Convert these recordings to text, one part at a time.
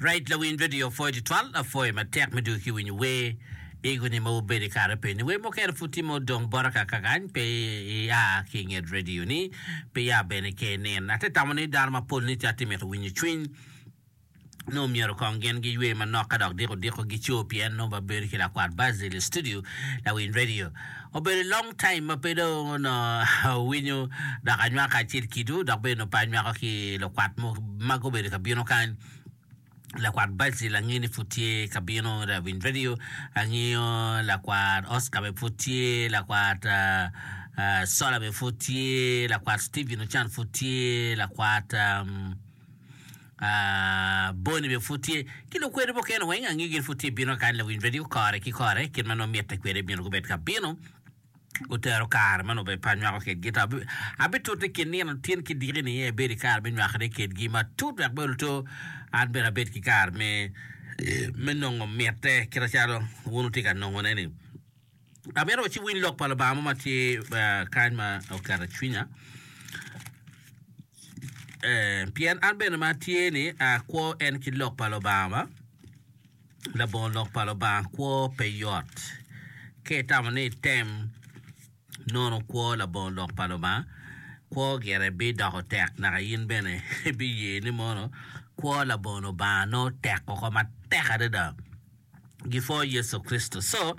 Right lawiny radio pwoyo tutwal apwoyo matek me dwogo ki winyo wer ego ni ma wubedo i kare peni wer mukene pud tye ma odong bota kaka kany pe ia ki inget radio ni pe ia bene ke inin ate tamo ni dano mapol ni tye mito winyo cwiny nongo myero kong gin giywe manok ka dok diko diko gico pien nongo babedo ki lakwat Basil i studio lawiny radio obedo long time ma pe dong onongo awinyo dok anywako kacel kidwu dok bene onongo pe anywako ki lukwat ma gubedo ka bino kany. Lakwat Basil angeyo ni pud tye ka bino lawiny radio angeyo lakwat Oscar bene pud tye lakwat Sola bene pud tye lakwat Steven Ocan pud tye lakwat Bonny bene pud tye ki lukwede mukene weng angeyo gin pud tye bino kany lawiny radio kore ki kore kit ma nongo mitte kwede myero gubed ka bino. Otero kare ma nongo bene pe anywako kedgi, ento abitute kin nino tin ki diki ni abed ki kare me nywakone kedgi matut wek bene oto an bene abed ki kare me me nongo mitte kit macalo wun wutye ka nongone-ni. Amito wa ci winy lok pa Lubanga mo ma tye kany ma oketo cwinya pien an bene ma atye-ni akwo en ki lok pa Lubanga ba. Labongo lok pa Lubanga kwo pe yot. Ka itamo ni item nono kwo labongo lok pa Lubanga, kwo gire bidoko tek naka in bene ibiye ni mono kwo labongo Lubanga nongo tek woko matek adada. Gipwo Yecu Kricito. So,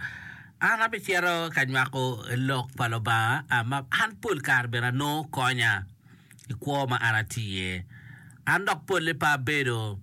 an abicito ka nywako lok pa Lubanga ma an pol kare bene anongo konya i kwo ma an atye iye. An dok polle pe abedo.